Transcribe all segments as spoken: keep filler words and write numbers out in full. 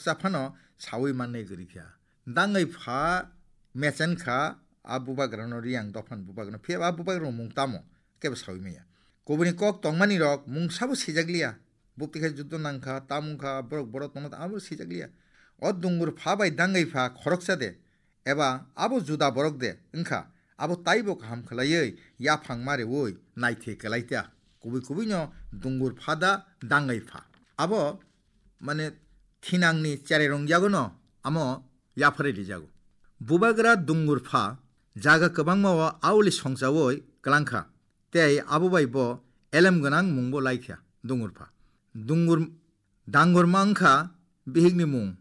Khoroksa phano sawi mannai kwrwi kha. Dangwi pha mechen kha a bubagrano, Riyang dophani bubagrano. Phiya ba bubagrano mung tamo? Kebo sawi maya. Kubuni kok tongmani rok mung sabo sijak liya. Bupti khai juddo nang kha, tamung kha, borok borok tongma abo sijak liya. O dungur pha bai dangwi pha khoroksa de, eba abo juda borok de wngkha, abo taibo kaham khlaiwi yaphang ma rewi naithe kwlai ta. Kubui kubui no dungur pha da dangwi pha. Abo mane thinangni cherai rong yago no amo yapharwi rijago. Bubagra dungur pha jaga kwbangma o auli songchawi kwlang kha. Tei abo bai bo elem gwnang mungbo lai kha, dungur pha. Dungur, dangor ma wng kha bihikni mung.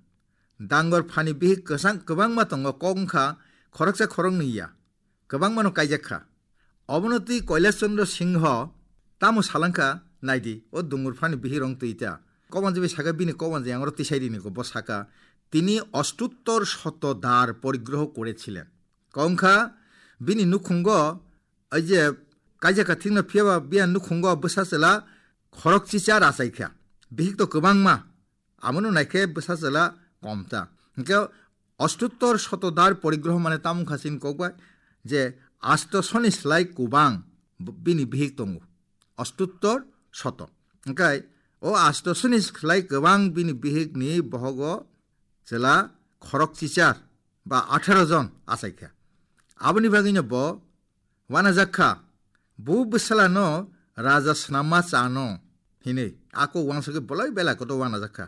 Dangor phani bihik kwchang kwbangma tongo, kok wng kha khoroksa khoroknwi ya. Kwbangmano kaijak kha. Obono twi Kailash Chandra Singho tamo salang kha, naidi, o dungur phani bihik rong twi ta. Kobanjwi bai saka bini kobanjwi angro tisai rini ko, bo saka, "Tini অষ্টোত্তর শত দ্বার পরিগ্রহ করেছিলেন." Kok wng kha bini nukhungo Ai je kaijak kha thikno, phiyaba biyang nukhungo bwsa chwla khorok chicha rachai kha. Bihik to kwbangma. Amono naikhe bwsa chwla kom ta. Hinkhe অষ্টোত্তর শত দ্বার পরিগ্রহ mane tamo wngkha chini kokbai je আষ্টশোনি slai kwbang b-, bini bihik tongo. অষ্টোত্তর শত. Hinkhe o আষ্টশোনি slai kwbang bini bihikni bohogo chwla khorok chichar ba আঠারো jon achai kha. Aboni bagwino bo wanajak kha, bo bwsala no raja swnamma chano hinwi. Ako wansugwi bolai belai kotor wanajak kha.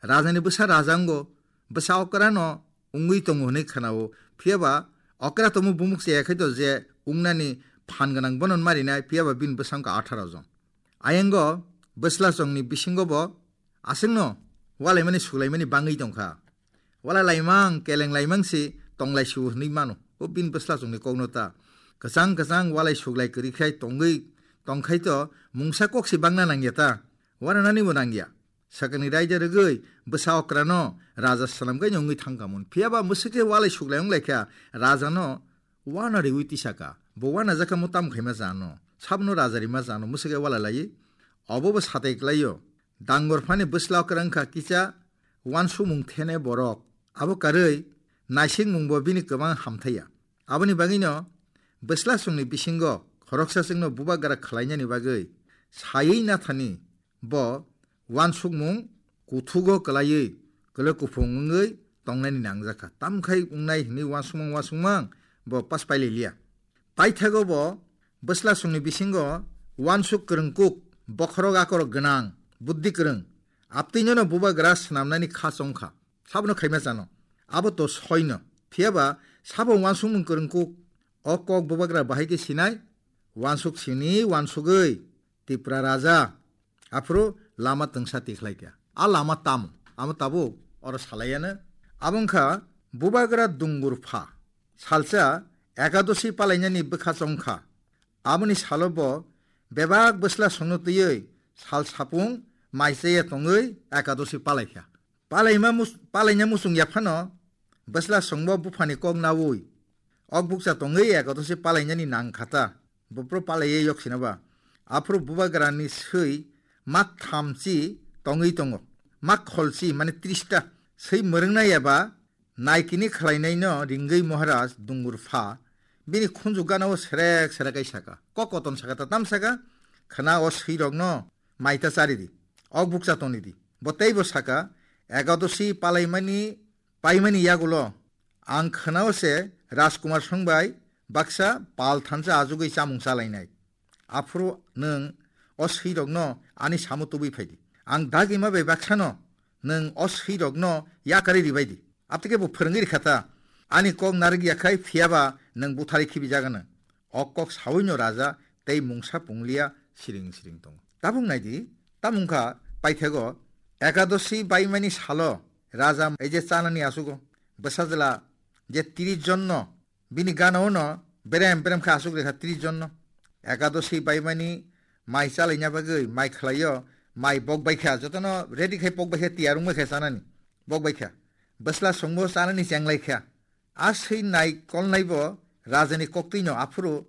Rajani bwsa raja wngo, bwsa okra no wngwi tongo hinwi khwnao. Phiyaba okra tongmo bumuk chaya khai to je wngnani phan gwnang bono marinai, phiyaba bini bwsa wngkha আঠারো jon. Ayango bwsla chongni bisingo bo aswkno walaimani suklaimani bangwi tongkha. Wala laimang, keleng laimang se tonglai su hinwi mano. O bini bwsla chongni kokno ta. Kwchang kwchang walai suklai kwrwi khai tongwi tongkhai to mungsa kok se bangna nangya ta. Wananani bo nangya. Sakani raida rwgwi bwsa okrano raja swnamgwi wngwi thangkha mun. Phiyaba mwswkhe walai suklai wng laikha rajano wana riwi tisaka. Bo wana jakha mo tam khaima jano. Sabno raja rima jano mwswkhe wala laiwi. Obo bo satai klaio. Dangor phani bwsla okra wngkha kisa wansukmung thene borok. Abo karwi naisingmungbo bini kwbang hamthaiya. Aboni bagwino bwsla chwngni bisingo khoroksa chwngno bubagra khlainani bagwi saywi nathani bo wansukmung kuthugo kwlaiwi kwlwi kuphung wngwi tongnani nangjakha. Tamkhai wngnai hwnwi wansukmang wansukmang bo pas pailai liya. Paithago bo bwsla chwngni bisingo wansuk kwrwngkuk, bokhorok akorok gwnang, buddhi kwrwng, aptwinono bubagra swnamnani kha chongkha. Sabono khaima chano. Abo to soino. Phiyaba sabo wansukmung kwrwngkuk, o kok bubagra bahai khe sinai, wansuk sini wansugwi Tipra raja, aphuru lama twngsa tikhlai kha. A lama tamo? Amo tabuk oro salaiya no. Abo wngkha bubagra dungur pha. Salsa ekadosi palainani bwkha chongkha. Aboni salo bo bebak bwsla songno twiwi sal sapung mai chaya tongwi ekadosi palai kha. Palaima mus-, palaina muchung yaphano bwsla songbo buphani kok naui ok bukcha tongwi ekadosi palainani nang khata. Bopro palaiye yoksina ba. Aphuru bubagrani swi mak thamchi tongwi tongo. Mak kholchi mane trista swi mwrwngna eba naikini khlainaino ringwi Maharaj dungur pha. Bini khunju gana o serek serek ai saka. Kok koton saka ta tam saka. Khna o swi rokno maita chari di. Ok bukcha toni di. Bo teibo saka, ekadosi palaimani, paimani yagulo ang khwnao se Rajkumar songbai baksa pal thansa ajugwi chamung chalainai. Aphuru nwng o swirokno ani samo tubui phai di. Ang dagima bai baksano nwng o swirokno yakarwi ribai di. Aptike bo phwrwngwi rikha ta, ani kok narwk ya khai phiyaba nwng butharwi khibi jagano. O kok sawino raja tei mungsa pungliya siring siring tongo. Tabuk nai di, tamo wngkha paithego ekadosi baimani salo raja ei je chanani asugo bwsajwla je tris jonno bini gana-o no berem berem khe asuk rekha tris jonno. Ekadosi baimani mai chalaina bagwi mai khlaio, mai bok bai kha, jotono ready khai pok bai kha, tiyar wng bai kha chanani, bok bai kha. Bwsla songbo chanani chenglai kha. A swi naikolnaibo rajani koktwino aphuru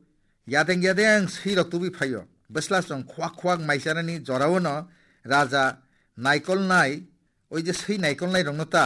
yadeng yadeng swirok tubui phaio. Bwsla chong khuak khuak mai chanani jorao no raja naikolnai, oi je swi naikolnai rokno ta